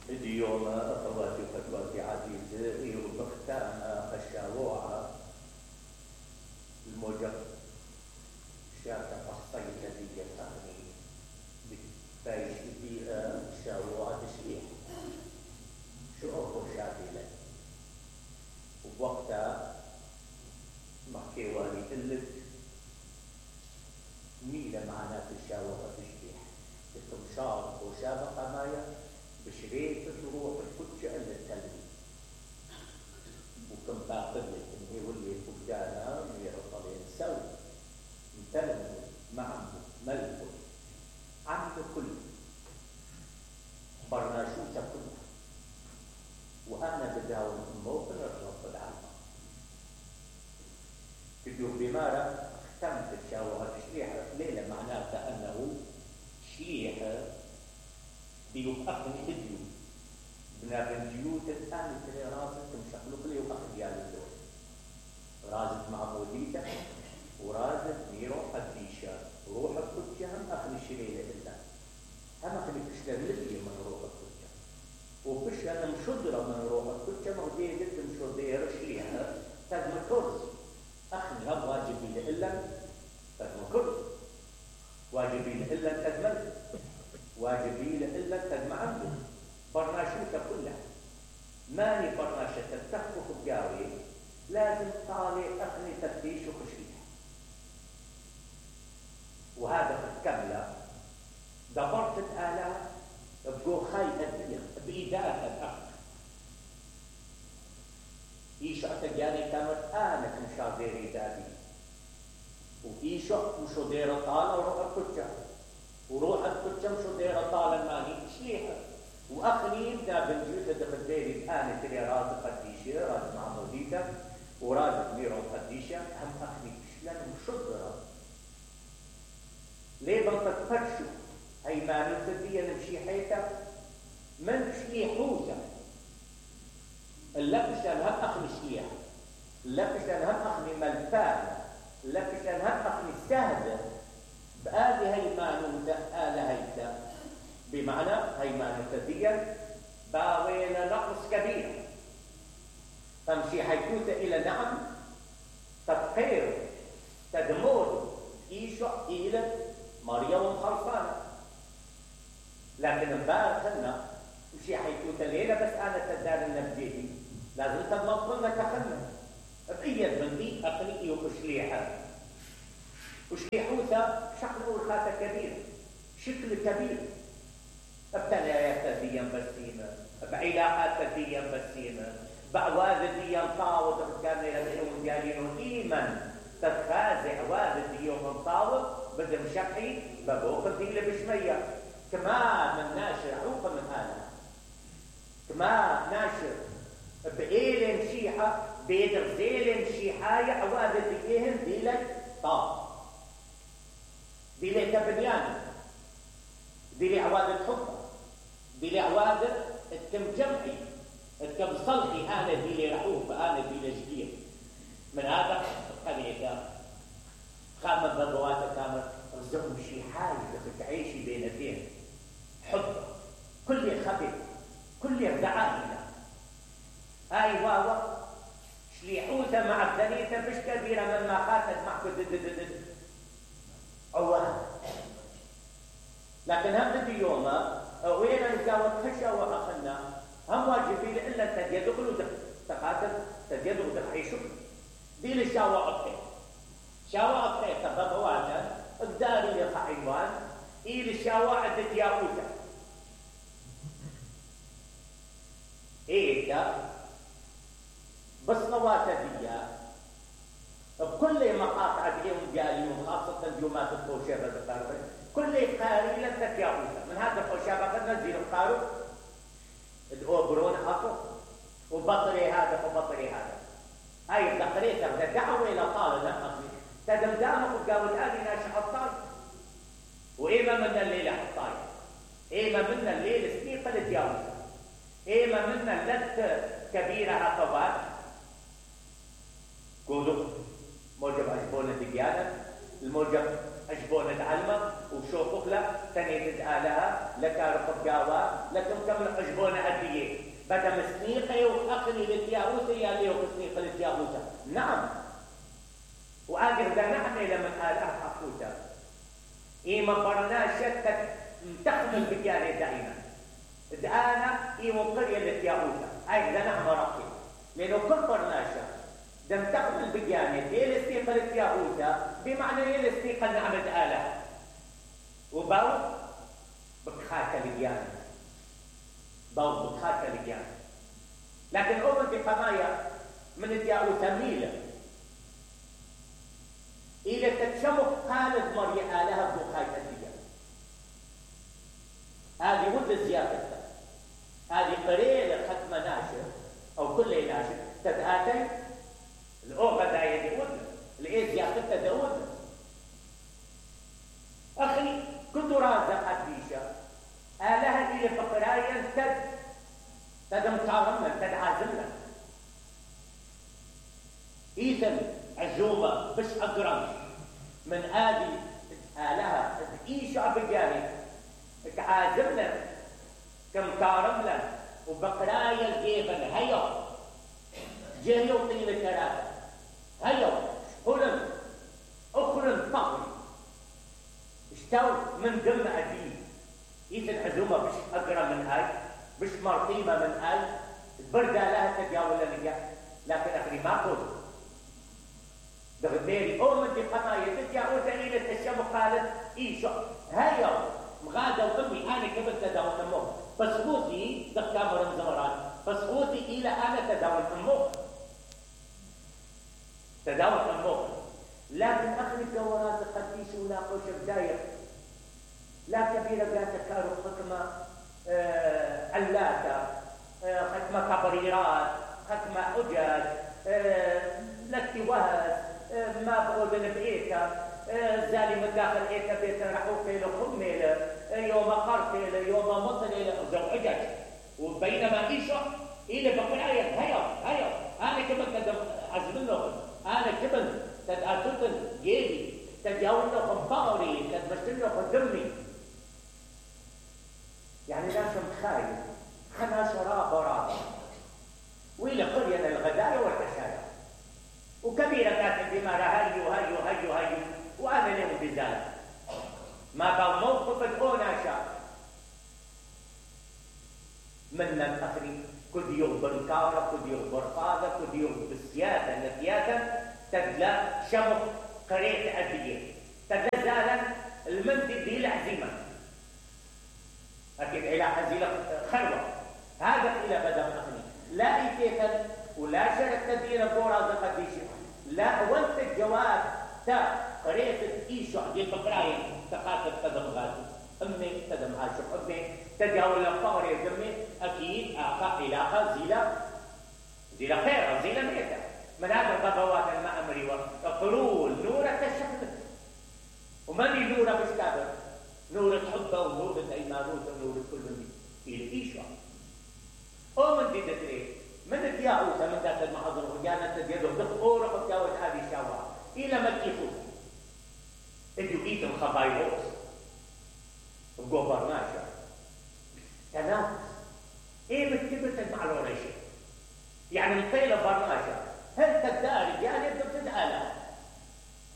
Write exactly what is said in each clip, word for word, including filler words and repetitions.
اليوم أخواتي وفتواتي عزيزة يربختان الشاوعة الموجب شاكا الصيدة دي الثاني بتبايش بيئة شاوعة تشريح شو أخو شابلة وبوقتها محكي والي قلت ميلة معنات الشاوعة تشريح التمشار وشابقة مايا بشريت تروح الكتشة اللي التلمي وكم باقل انه يولي فقدانا ميرطلين سوي متلمي معه ملكه عمل كل برناشوسة كلها وأنا بداوم موطن الرب العالم بدو بمارة اختمت الشاوة تشريحة ليلة معناتها أنه شليحة بيوقفني بديو بنابن ديوت الآن تري رازت تمشقلق لي وأخذ يالي الدول رازت مع موديته ورازت ميرو قديشة روح الكتشة هم أخذ الشليلة إلا هم أخذ كشلة لبية من روح الكتشة وكشلة مشدرة من روح الكتشة مغدية جدا مشدرة شليحة تدم كرز أخذ هم واجبي لإلا تدم كرز واجبي لإلا تدمل واجبي لإلا تدمع عنده برناشوتة كلها ماني برناشة تتخفف بجاوي لازم طالع أخني تفتيش وخشيح وهذا في الكاملة دبرت الآلاف بقو خي أدية بإيداء الأخ إيشو أتجاني كانت آنك مشاذيري دادي وإيشو مشودير طالة وروح الكتشة وروح الكتشة مشودير طالة ماني شليحة وأخني إبدا بنجوثة دخديري بآنة اللي راز قديشة راز معموديته وراز ميرو قديشة هم أخني بشلان مشدرة ليه بنتفرشو هاي ما نتدية نمشي حيثة من شليحوزة اللبش لأنها أخني شليحة اللبش لأنها أخني ملفانة اللبش لأنها أخني سهدة بآذي هاي ما نمتة آلة هيتا بمعنى هاي ما نتدية باوين نقص كبير تمشي حيثوثة إلى نعم تطهير تدمور إيشو إلى مريم خلصانة لكن مبارخنا وشي حيثوثة ليلة بس أنا تدار النبجيدي لازم تضمطلنا تخلنا بأيد من دي أقليقي وشليحة وشليحوثة شكل أولخاتة كبير شكل كبير ابتلايات تديا بسيمة بعلاقات تديا بسيمة بعواذ ديا طاوض كان يلدعون ديالين إيمن تتخازع واذ ديا من طاوض بدم شقي ببوق الديلة بشمية كما من ناشر عوقا من هذا كما ناشر بإيل مشيحة بيدر زيل مشيحاية عواذ ديهم ديلة طاوض ديلة تبنيان ديلة عواذ الحب ديلة عواذ اتكم جمعي اتكم صلحي أنا ديلة رحوف أنا ديلة جديد من هذا خليك خامة بضواتة كامل رزقهم شي حاجة تعيشي بينتين حب كل خبير كل دعائنا هاي واوا شليحوثة مع الثنيثة مش كبيرة مما خاتت معكو عواه لكن هم بدي يوما وين نزاوت خشة وأخلنا هم واجبين إلا تديدخلوا تقاتل تديدخلوا تحيشوا دي للشاوة أبقى شاوة أبقى تبقى واجا الداري يقعيوان إيه للشاوة عدد ياقوتا إيه ده بس نواتا ديا بكل مقاطع ديهم جاليون خاصة اليومات الخوشيبة بقاربة كل قاري لن تتياقوتا من هذا الخوشيبة قد نزيل القارب الأوبرون أطو وبطري هذا وبطري هذا هاي الدقرية تبدأ دعوة إلى طالب نقصي تدم دامك وقاول هذه ناشي حطاي وإيما من الليلة حطاي إيما من الليلة سنيقة لتياوتا إيما من اللت كبيرة عقبات قولوا موجب أجبونة دقيانة الموجب عجبون تعلمه وشوفوا له تاني تدعالها لكارق بقاوة لكن كم عجبون أديه بدأ مسنيقي وأخني للتياوسة يا ليه وكسنيقي للتياوسة نعم وآقر دا نعمة لمن آلها حقوتا إيما برناشة تخمل بكاري دائما دعانا إيما قرية للتياوسة أي دا نعمة رقي لأنه كل برناشة دم تقبل بجانب هي الاستيقة للتياهوتا بمعنى هي الاستيقة نعمة آلة وباو بكخاكة لجانب باو بكخاكة لجانب لكن أول بقضايا من التياهوتا ميلة إذا تتشمخ قالت مريا آلها بخاكة لجانب هذه مدة زيادة هذه قريلة ختمة ناشر أو كل ناشر تتآتي الأوغة داية داودنا الإيز ياخدها داودنا أخي كنت رازقت بيشا آلها إلي فقرايا تد تد مطارمنا تد عازمنا إذن عزومة بش أقرم من آدي آلها إيشا بجانب عازمنا كمطارمنا وبقرايا الجيبن هيا جهيو طيل الكراسة هيا هلن أخرن طقري اشتو من دم أدين إذا العزومة بش أقرأ من هاي بش مرطيمة من هاي البردة لها تجاولا نجا لكن أخري ما قول دغديري أو من دي قناية تجاوز إلى التشام قالت إيشو هيا مغادة وأمي أنا كبت تداول الموت بس خوتي دكتامر الزمرات بس خوتي إلى أنا تداول الموت تداول الموت لكن أخذ الدورات قديش ولا قوش بداية لا كبيرة قاتل كارو حكمة آه علاتة آه حكمة كبريرات حكمة أجاج آه لاتوهز آه ما بقودن بإيكا آه زالي من داخل إيكا بيتا رحوك إلى خميلة آه يوم قرتيلة يوم مصليلة زوجج وبينما إيشو إلى بقراية هيا هيا أنا كمان تدم عزم لهم أنا كمان تدأتوتن جيبي تدياون لهم بغري تدمشتن لهم دمي يعني لا شمخايل خنا شراب ورابا وإلى قرية الغداية والعشاية وكبيرة كانت بما هيو هيو هيو هيو وأنا لهم بذلك ما بقى موقف الأونا شاء من الأخرين كل يوم بالكارة كل يوم بالفاضة كل يوم بالسياسة السياسة تدلى شمخ قرية أدية تدلى زالا المنتج دي العزيمة أكيد إلى حزيلة خلوة هذا إلى بدأ أخني لا إيتيتا ولا شرك تدير بورا زقديشي لا وانت الجواب تا قرية إيشو دي البقراية تقاتل تدم غازي أمي تدم عاشق أمي تداول الفقر يا جمي أكيد آخا علاقة زيلة زيلة خيرة زيلة ميتة من هذا الغضوات المأمري وقرول نورة الشخص ومن نورة بشكابر نورة حبة ونورة أيمانوت ونورة كل من إيشو أو من دي دتري من الدياوسة من ذات المحاضر وجانا تديدو دخور وتجاوز هذه الشوارع إلى ما تيخوز إديو إيتم خبايروس وقوبرناشا تنافس إيه بتكبت المعلومة شيء يعني القيلة برناشا هل تداري يعني أنت بتدعى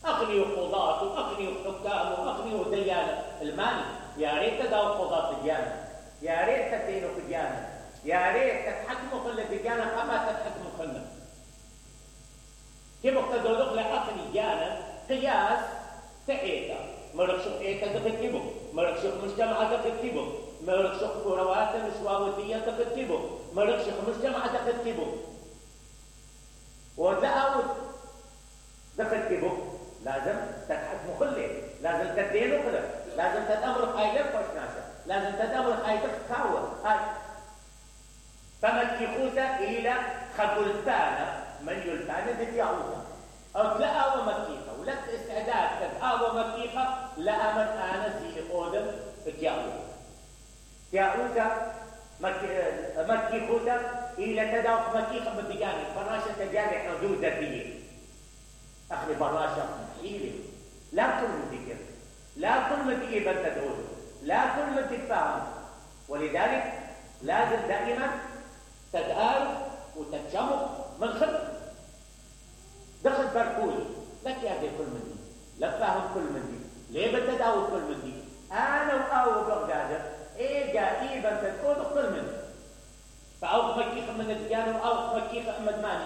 أغني قضاة وأغني حكام وأغني ديانة المال يا ريت تداول قضاة الديانة يا ريت تدينوا في الديانة يا ريت تتحكموا في الديانة كما تتحكموا خلنا كيف اقتدوا لك أغني ديانة قياس تأيتا مرشق إيتا تكتبه مرشق مجتمع تكتبه مرشق كروات مشواوتية تكتبه مرشق مجتمع تكتبه وتأود تكتبه لازم تتحكم خلي لازم تدينه خلق لازم تتأمر خايلة فشناشة لازم تتأمر خايلة خاوة هاي فمن يخوته إلى خبلتانا من يلتانا بتيعوها أو تلاقى ومكيخة ولك استعداد تلاقى ومكيخة لا من أنا زي قودم تيعوها تيعوها مكيخوته إلى تداوك مكيخة بالبجانب فراشة تجاري حدود ذاتية أخلي براشة إلي لا تقولوا ذكر لا كل من تجيب انت تقول، لا كل من تتفاهم. ولذلك لازم دائما تتآلف وتتشمخ من خلق. دخل بركول لك يا دي كل من دي، لا فاهم كل من دي، ليه بتداول كل من دي؟ انا واو بغداد ايه جايب انت تقول كل من دي. فاوق مكيخ من الديانه واوق مكيخ احمد ماني.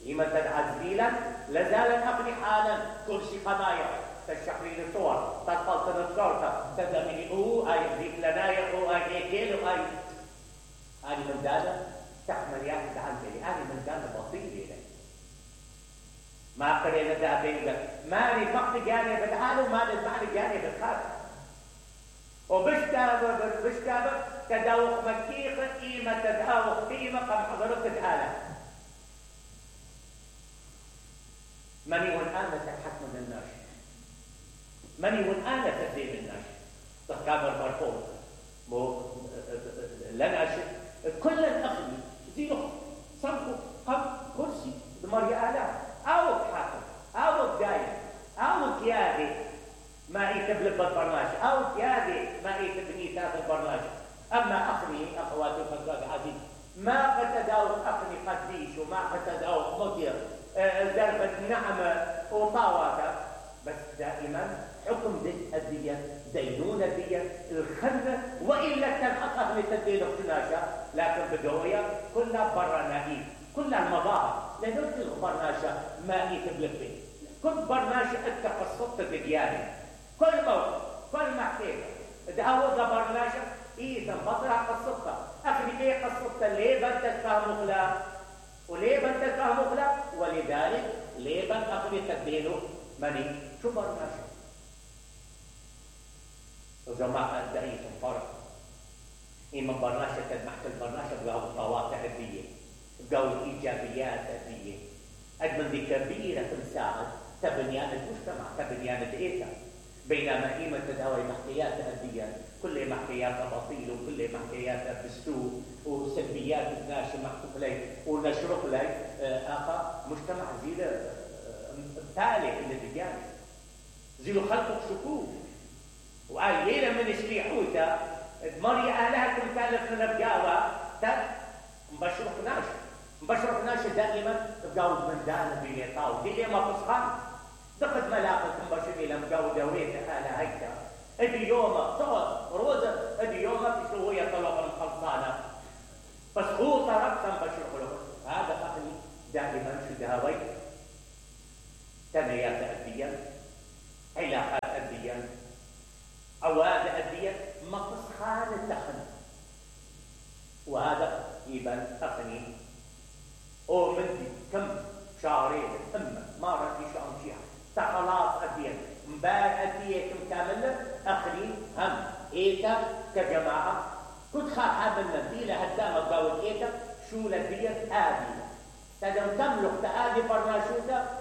لما تدعى زبيلا لازال اقني حالا كرسي قضايا تشحرين الصور تطلطن الشرطه تدمني اوه اي ذيك لنايا اوه اي كيلو اي هذه من دانا تحمل يا اخي عن بالي هذه من دانا بطيئه لك ما قرينا ذاتين ماني فقط جاني بالحال وماني المعنى جاني بالخارج وبشتابه بشتابه تداوق مكيخ قيمه تداوق قيمه قم حضرت تعالى مني والآن تحت من الناشر مني والآن تدين الناشر تكامل مرفوض مو لناشر كل الأخذ زينه صنفه قم كرسي بمريا آلاف أو حاكم أو دايم أو كيادي ما يكتب بالبرنامج أو كيادي ما يكتب نيتات البرنامج. أما أخني أخواتي وخزوات عزيز ما قد تداوق أخني قديش وما قد تداوق مدير دربة نعمة وطاواتة بس دائما حكم دي الدية دينونة الدية الخنة وإلا تنحقق من تدين اختناشة لكن بدوية كلها برا نهيب كلها المظاهر لأنه البرناشة ما يتبلغ كل برناشة أنت قصدت الديانة كل موقف كل محكيمة دعوة برناشة إيه تنفضلها قصدتها أخلي إيه قصدتها ليه بنت تفهم مغلاق وليه بنت تفهم مغلاق ولذلك ليه بنت أخلي تدينه مني شو برناشة وجماعة الدعية الفرق إما برناشة تدمحت البرناشة بقاو الطواتع الدية بقاو الإيجابيات الدية أجمل دي كبيرة تنساعد تبنيان المجتمع تبنيان الإيتا بينما قيمة تداوي محكيات الدية كل محكياتها بطيل وكل محكياتها بالسوء وسلبيات الناشئ محكوك لي ونشرق لي آخر مجتمع زيلة تالي للديانة زيلو خلقك شكوك وقال من شليحوتا مري أهلها كل تالف من البقاوة تد مبشرق ناشئ مبشرق ناشئ دائما بقاود من دانا بيليطاو دي ما فصخان دقت ملاقة مبشرق لما بقاود دويت أهلها هيتا ادي يومه صور روزة ادي يومه في شوية طلب الخلصانة بس هو طرق مبشرق له هذا أخلي دائما شو دهوي تنميات أدية علاقات أدية أواد أدية مفصخان التخن وهذا يبان أخني أو مندي كم شهرين أما ما رأي شعر شيئا تخلاص أدية مبار أدية كم كاملة أخني هم إيتا كجماعة كنت خاحة من نبيلة هدامة قاوة إيتا شو لدية آدية تدم تملك تآدي برناشوتا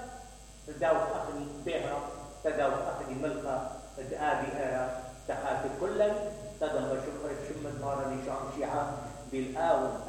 تداوك أخني بيهرب تداوك أخني ملقى تآدي إيرا تخاطب كلا تدم بشكر شمت مارا لشعر شيعة بالآون